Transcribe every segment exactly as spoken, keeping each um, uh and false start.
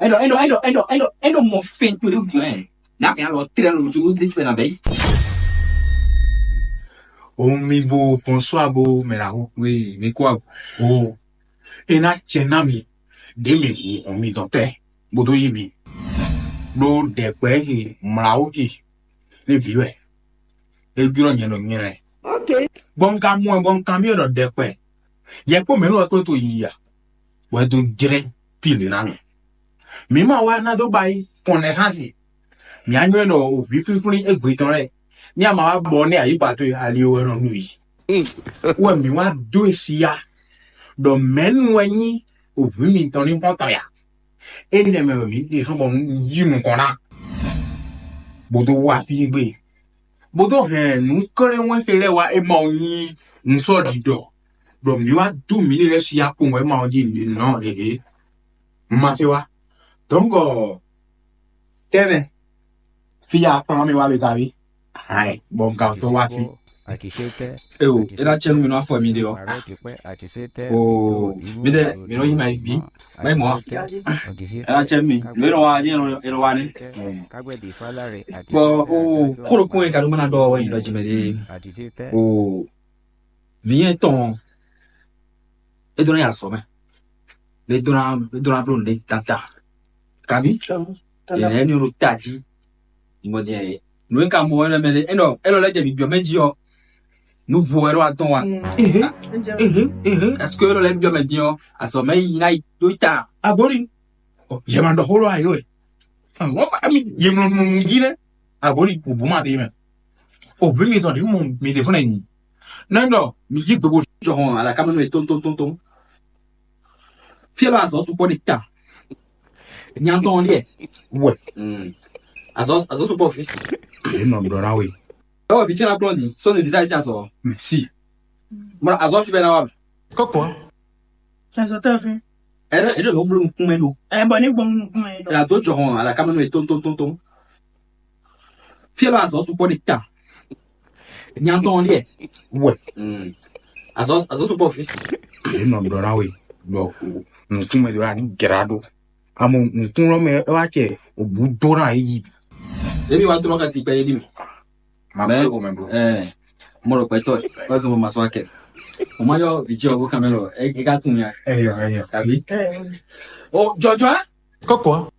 Eno, eno, eno, eno, eno, eno mɔ fɛn to ɖe wútu ɛ. N'a fɛn alɔ trɛ lo tu ɖe fɛn na bɛ yi. Omi bo, bonsoir bo, mɛ la ho we, mi kɔ o. E na cɛ na mi, ɖe mi hu hɔn mi dɔn tɛ, bo do yi mi. Ɖo ɖɛkpɛ he mla wo ji, ne vi wɛ. E jlɔ nyɛ ɖo nyɛ lɛ. Ok. Bɔ n ka mɔ ɛ, bɔ n ka mi ɖɔ ɖɛkpɛ. Yɛ kpɔ mɛ nɔ wɛ kó to yi ya. Wɛ do jrɛ pile na mi. Mi ma wá ná dó ba yi kɔn nɛ xá si. Mi á nywɛ́ ɖɔ o vǐ flínflín égbé tɔn lɛ́ɛ. Ní a ma wá bɔ ní ayǐ ba towe ali wɛ nɔ nu yi. Wɛ mi wá dó e si ya. Ɖɔ mɛ̌nu wɛ nyí o vǐ mitɔn ní xɔ́ntɔn ya. Énɛ́ mɛ wɛ mǐ ɖe sɔ́ bɔ un yí nukɔn ná. Bó dó wá fí gbe. Bó dó hɛn nǔ klɛ́nwɛ́n ce lɛ́ɛ wá é ma ɔ́ nyí nǔsɔ́ɖiɖɔ. Ɖɔ mǐ wá dó mǐ lɛ́ɛ sí akpowun wɛ é ma ɔ́ jí nɔ hehe. Un ma se wá. Dɔ̌nkɔ tɛ́nɛ fí ya kplɔ́n mì wá be ka ví. Hai, bɔ un ka sɔ́ wá fí. Eo, é ná cɛ́ nú mi nú afɔ mi ɖe ɔ́. Oo, mi ɖe mi nɔ yi ma yi bí. Mɛ mɔ. É ná cɛ́ nú mi. Lě nɔ wá, é nɔ wá ní. Bɔ o kó ɖokpó yẹn ka ɖó má ná ɖɔ wɛ nyǐɖɔ jí mɛ ɖé. O vǐ nyɛ tɔn é dó ná yi azɔ̌ mɛ. É dó ná é dó ná bló nǔɖé tata. Kabi? Yɛn ní ɖo tají. Ìmọ̀ dín ẹ̀ nǔ e ka mɔ wɛ lɛ́ mɛ ɖé. Énɔ élɔ́ lɛ́ jɛ bǐ byɔ́ mɛ jí ɔ́. Nú vo wɛ ɖó atɔ́n wa. Ɛseke élɔ́ lɛ́ byɔ́ mɛ dín ɔ́, azɔ̌ mɛ yi ná yi ɖó ta. Agori. Yɛ ma ɖɔ xó lɔ ayé wɛ. Wọ́n bá mi yɛ mlɔ nù jí lɛ. Agori kò bó ma dé mɛ. O bí mi tɔn ɖi mɔ mi ɖe fúnɛ nyi. Nɛ ɖɔ mi yí gbogbo jɔ hɔn alakamɛnú yɛ tɔn tɔn tɔn tɔn. Fí ɛ lɔ azɔ̌ sukpɔ́ ɖe ta. Nya tɔn ɖiɛ. Wɛ. Azɔ̌ azɔ̌ sukpɔ́ fi. Yɛ nɔ ɖɔ na we. Ɛ wɔ vi tsɛn na kplɔn di sɔni visa esi azɔ̌. Mɛ si. Mɔ azɔ̌ fi bɛ na wa. Kɔkɔ. Azɔ̌ tɛ fi. Ɛ ɖe ɖe lɔ blo nukun mɛ ɖo. Ɛ bɔ ne gbɔn nukun mɛ ɖo. Ɛ la dó jɔ hɔn alakamɛnú yɛ tɔn tɔn tɔn tɔn. Fí ɛ lɔ azɔ̌ sukpɔ́ ɖe ta. Nya tɔn ɖiɛ. Wɛ. Azɔ̌ azɔ̌ sukpɔ́ fi. Yɛ nɔ ɖɔ na we ɖɔ nukun mɛ ɖo ani jra ɖo. Amɔ nukun lɔ mɛ ɛ wá cɛ òbú dó na yí. Ebi wa trɔ ka si pɛ yé di mi. Ma bɛ o mɛ bro. Ɛ mɔ ɖo pɛtɔ ɛ kɔ zɔn ma sɔ akɛ. O ma yɔ vi jɛ o kamɛ lɔ e ka kun ya. Ɛyɔ ɛyɔ. Kabi. O jɔjɔ. Kɔkɔ.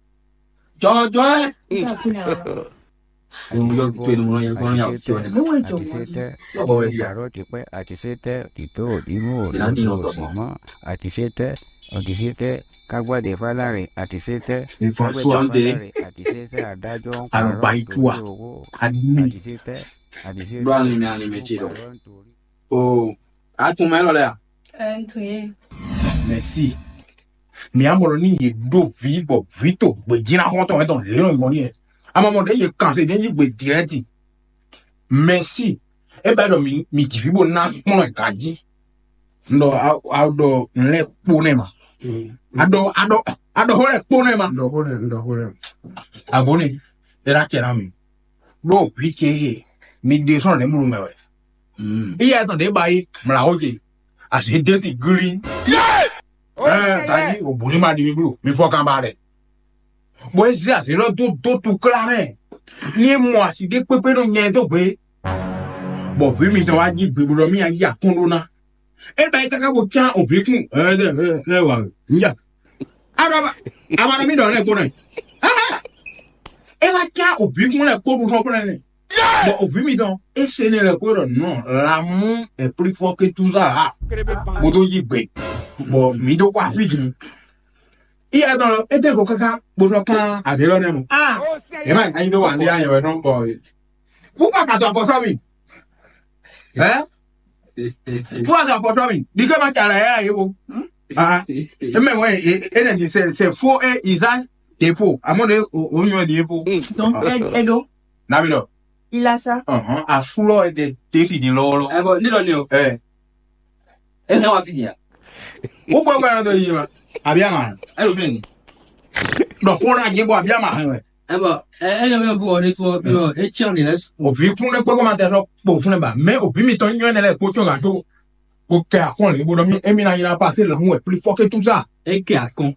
Jɔjɔ. Yɔ to enu mɔ yɛ kɔnɔ ya o si wɛ. Lɔbɔ wɛ ya. Àtìsétẹ́, tìtó òdìmú òdìmú òsìmọ́, àtìsétẹ́, òdìsétẹ́, kágbádé fálárì, àtìsétẹ́, kágbádé fálárì, àtìsétẹ́, adájọ́ ń parọ́ nítorí owó, àtìsétẹ́, àtìsétẹ́, gbọ́ àlìmí àlìmí ti lọ. O àtúmọ̀ ẹ lọ lẹ́yà. Ẹ ń tún yé. Mɛsi. Mi amɔ ní yě ɖó vǐ bɔ vǐ to gbějínná xɔ́ntɔn wɛ tɔn lě nɔ nyɔ ní yɛ. Amɔ mɔ ɖě yě kan xlé ní yí gbe direct. Mɛsi. É bɛ ɖɔ mi mi jǐ fí bó ná kplɔ́n ɛ ganjí. Un ɖɔ a ɖɔ nǔ lɛ́ɛ kpó nɛ́ ma. A ɖɔ a ɖɔ a ɖɔ xó lɛ́ɛ kpó nɛ́ ma. Ɖɔ xó lɛ́ɛ, ɖɔ xó lɛ́ɛ. Abóni, é ná cɛ ná mi. Ɖó vǐ ce e mi ɖe sɔ́ nɛ̌ mlú mɛ wɛ. Iye tɔn ɖě ba yi mlǎwó ce. Azě dé si glí. Ɛɛ, ganjí òbú ní ma ɖi mi bló. Mi fɔ kan ba lɛ. Bɔ é zé azě lɔ dó dó tu klá mɛ. Ní é mɔ asi ɖé kpékpé nɔ nyɛ dó gbe. Bɔ vǐ mitɔn wá jí gbe bó ɖɔ mì yí akɔ́n ɖó ná. É ba yi káká bó cyán òvǐkún. Ɛ ɛ ɛ ɛ wà níjà. Aɖɔ ama ɖɔ mì ɖɔ lɛ kpó nɛ. É wá cyán òvǐkún lɛ kpó ɖu sɔ́ kplɛ́ nɛ. Bɔ òvǐ mitɔn é se nɛ lɛ kpó ɖɔ nɔ l'amour est plus fort que tout ça. Bó dó yí gbe. Bɔ mǐ dó kó afí din. Iya dɔn é dé go káká bó sɔ́ kán azě lɔ nɛ mɔ. Ɛ má anyi dó wà ní ayɛ wɛ nɔ bɔ. Pourquoi ka to apɔsɔ mi? Hein? Pourquoi ka to apɔsɔ mi? Di ke ma ca la ya ye wo. Ah, e mɛ wɛ e ne di c'est c'est faux et usage de faux. À mon de o nyɔ di faux. Donc, elle, elle, donc, Nami dɔ. Il a ça. Ɔhɔn, afúlɔ e de te fi di lɔwɔlɔ. Ɛ bɔ ne dɔ ne o. Ɛ. E hɛn wa fi di ya. O bɔ gbɛdɔ dɔ yi ma. Abi ama. Ɛ lo fi ni. Dɔ ko na je bɔ abi ama hɛn wɛ. Ɛ bɔ ɛ ɛ yɔ bɛ fɔ ne sɔ bi ɔ e tiɲɛ de lɛ. Òbí kún lé kpé kó ma tẹ sɔ kpó fún ẹ bá mɛ òbí mi tɔn nyɔ ẹ lẹ kó tso gàdó kó kẹ akɔn lè bó dɔ mi émi na nyina pa sí làwọn ẹ pli fọkẹ tó sá. E kɛ akɔn.